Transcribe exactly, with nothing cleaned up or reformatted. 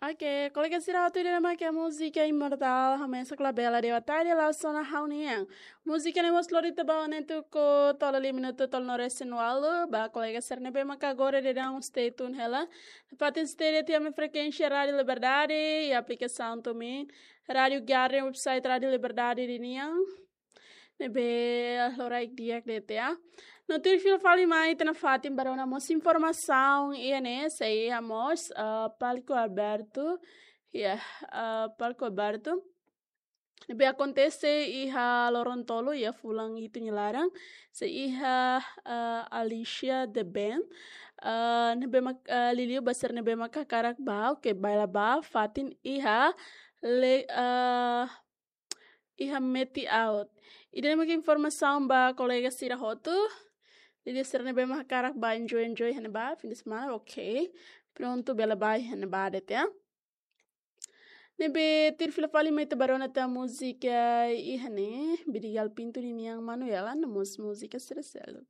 Oke, kolega sira hotu, ida-ne'e mak múzika Imortal, hamesak labele de'it, até de la zona haunian. Múzika ne'e mós lori tiha ba ne'e tuku tolu lima minutu tolu no resin walu, ba kolega sira ne'ebé maka agora daudaun stay tune hela. Fatin stay de'it iha ami-nia frekuénsia Rádio Liberdade, iha aplikasaun TuneIn, Rádio Garden, website Rádio Liberdade ninian. Ne'ebé loraik di'ak de'it ya. No tuir fila fali mai ita-nia fatin ba rona mós informasaun iha ne'e, sei iha mós, ah, palco aberto. Ya, ah, palco aberto. Ne'ebé akontese iha loron tolu iha fulan hitu nia laran. Sei iha, ah, Alicia The Band. Ah, ne'ebé mak, ah, liuliu ba sira ne'ebé mak hakarak bá, oke, bailaibá, fatin iha le, ah, iha Meti Out. Ida-ne'e mak informasaun ba kolega sira hotu. Jadi sira ne'ebé mak hakarak bá enjoy, enjoy iha ne'ebá, fim de semana, oke. Prontu, bele bá iha ne'ebá de'it ya. Ne'ebé tuir fila fali mai ita ba rona tiha múzika iha ne'e, Bidigal Pinto ninian Manuela, no mós múzika sira seluk.